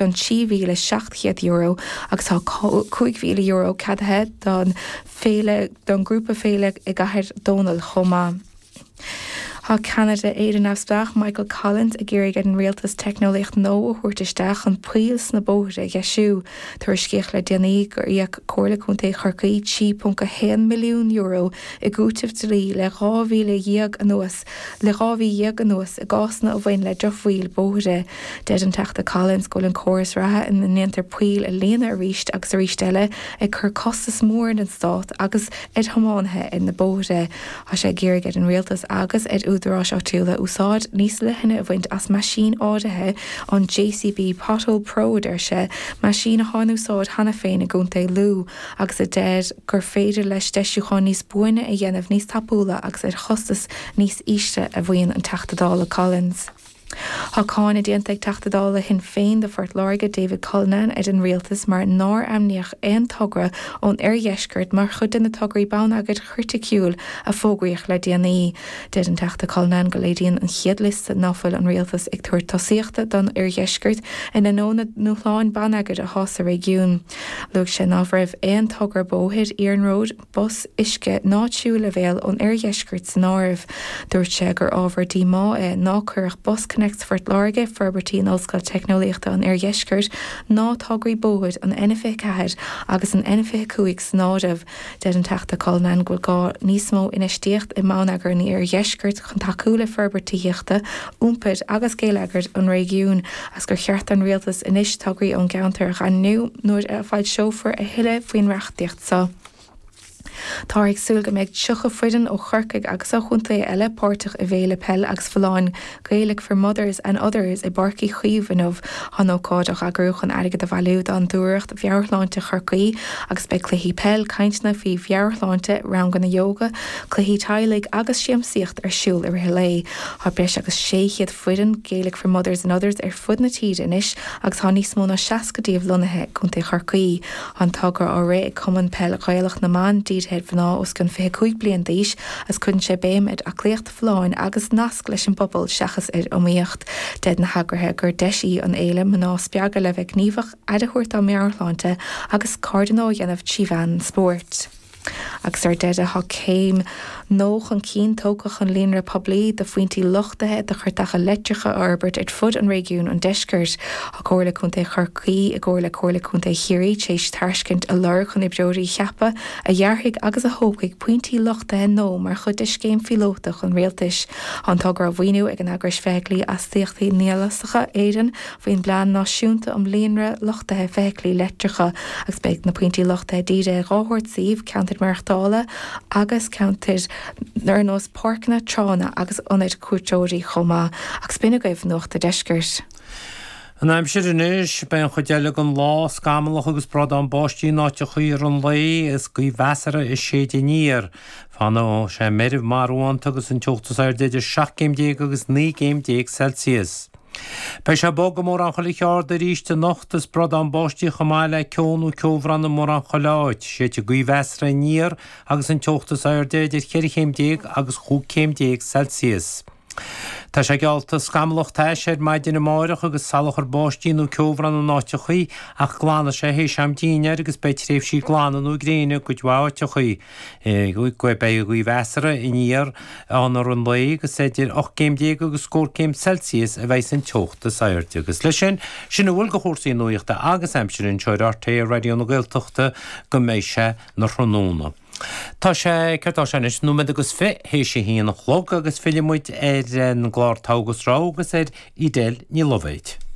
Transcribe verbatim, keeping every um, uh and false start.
cionn trí mhíle seacht gcéad euro agus tá cúig mhíle euro ceadaithe don féile don grúpa féile i gCathair Dónall chomh maith. Tá ceannaire Éire Neamhspleách Michael Collins ag iarraidh ar an rialtas teicneolaíocht nua a thabhairt isteach chun poill sna bóithre a dheisiú. Tuairiscíodh le déanaí gur íoc Comhairle Contae Chorcaí trí ponc a haon milliún euro i gcúiteamh dlí le dhá mhíle dhéag anuas le dhá mhí dhéag anuas i gcásanna a bhain le drochbhail bóithre. Deir an Teachta Collins go bhfuil an córas reatha ina ndéantar poill a líonadh arís agus arís eile ag cur costas mór ar an stát agus ar thiománaithe ar na bóithre. Tá sé ag iarraidh ar an rialtas agus ar údaráis áitiúla úsáid níos leithne a bhaint as meaisín áirithe, an JCB Pothole Pro a deir sé, meaisín atá in úsáid cheana féin i gContae Lú agus a deir gur féidir leis deisiúcháin níos buaine a dhéanamh níos tapúla agus ar chostas níos ísle, a mhaíonn an Teachta Dála Collins. Tá cáineadh déanta ag Teachta Dála Shinn Féin do Phort Láirge, David Cullinane, ar an rialtas mar nár ainmníodh aon togra ón oirdheisceart mar chuid de na tograí bonneagair chriticiúil a fógraíodh le déanaí. Deir an Teachta Cullinane go léiríonn an chéad liosta ná fuil an rialtas ag tabhairt tosaíochta don oirdheisceart in ainneoin na ndúshláin bonneagair atá sa réigiún. Luaigh sé ná raibh aon togra bóthair, iarnróid, bus, uisce ná tríú leibhéal ón oirdheisceart san áireamh. Dúirt sé gur ábhar díomá é ná cuireadh BusConnects Phort Láirge, forbairtí in Ollscoil Teicneolaíochta an Oirdheiscirt ná tograí bóthair an N fiche ceathair agus an N fiche cúig san áireamh. Deir an Teachta Cullinane go bhfuil gá níos mó infheistíocht i mbonneagar an iardheiscirt chun tacú le forbairt tithíochta, iompair agus geilleagair an réigiúin agus gur cheart don rialtas anois tograí ón gceantar a dhaingniú nuair a foilseofar a thuilleadh faoin reachtaíocht seo. Táthar ag súil go mbeidh tríocha foireann ó Chorcaigh agus ó chontaetha eile páirteach i bhféile peile agus folláine Gaelic for Mothers and Others i bPáirc Uí Chaoimh inniu. Tá an ócáid á heagrú chun airgead a bhailiú d'Fhondúireacht Mheabhairshláinte Chorcaí agus beidh cluichí peil, cainteanna faoi mheabhairshláinte, ranganna ióga, cluichí teaghlaigh agus siamsaíocht ar siúl i rith an lae. Tá breis agus sé chéad foireann Gaelic for Mothers and Others ar fud na tíre anois agus tá níos mó ná seasca díobh lonnaithe i gContae Chorcaí. Tá an togra á rith ag Cumann Peil Ghaelach na mBan, dírithe ar mhná os cionn fiche cúig bliain d'aois agus cuireann sé béim ar aclaíocht folláin agus nasc leis an bpobal seachas ar iomaíocht. Deir na heagraithe gur deis í an fhéile mná a spreagadh le bheith gníomhach, aire a thabhairt dá meabhairshláinte agus cairde nua a dhéanamh trí mheán an spóirt. Agus ar deireadh, tá céim nua chun cinn tógtha chun líonra poiblí de phointí luchtaithe do chairteacha leictreacha a fhorbairt ar fud an réigiúin an deiscirt. Tá Comhairle Contae Chorcaí i gcomhar le Comhairle Contae Chiarraí tar éis tairiscint a lorg chun oibreoirí a cheapadh a dhearfaidh agus a thógfaidh pointí luchtaithe nua mar chuid de scéim phíolótach an rialtais. Tá an togra á mhaoiniú ag an Eagrais Feithiclí Astaíochtaí Nialasacha Éireann faoin bPlean Náisiúnta um Líonra Luchtaithe Feithiclí Leictreacha agus beidh na pointí luchtaithe dírithe ar dhá shórt suímh, ceantair maireachtála agus ceantair ar nós páirceanna, tránna agus ionaid cuairteoirí chomh maith. Agus b'in agaibh Nuacht a' Deiscirt. An aimsir anois, beidh an chuid eile den lá scamallach agus bradán báistí in áiteachaí i rith an lae is gaoth mheasartha ag séideadh aniar. Fanfaidh sé meirbh marbhánta agus an teocht is airde idir seacht gcéim déag agus naoi gcéim déag Celsius. Beidh sé bog i mórán chuile cheard arís anocht is bradán báistí chomh maith le ceo nó ceobhrán i mórán chuile áit. Séidfidh gaoth mheasartha aniar agus an teocht is airde idir cheithre chéim déag agus chúig chéim déag Celsius. Tá sé geallta scamallach tais ar maidin amáireach agus salachar báistí nó ceobhrán in áiteachaí ach glanfaidh sé théis am dinnéir agus beidh tréimhsí glana nó gréine i gcuid mhaith áiteachaí. Beidh gaoth mheasartha aniar ann i rith an lae agus idir ocht gcéim déag agus scór céim Celsius a bheidh an teocht is airde. Agus leis sin, sin a bhfuil de chúrsaí nuachta agus aimsire anseo ar RTÉ Raidió na Gaeltachta go mbeidh sé 'na thráthnóna. Tá sé, céard tá sé anois, nóiméad agus fiche théis a haon a chlog agus fillfidh muid ar an gclár Togha agus Rogha agus ar Edel Ní Loibhéid.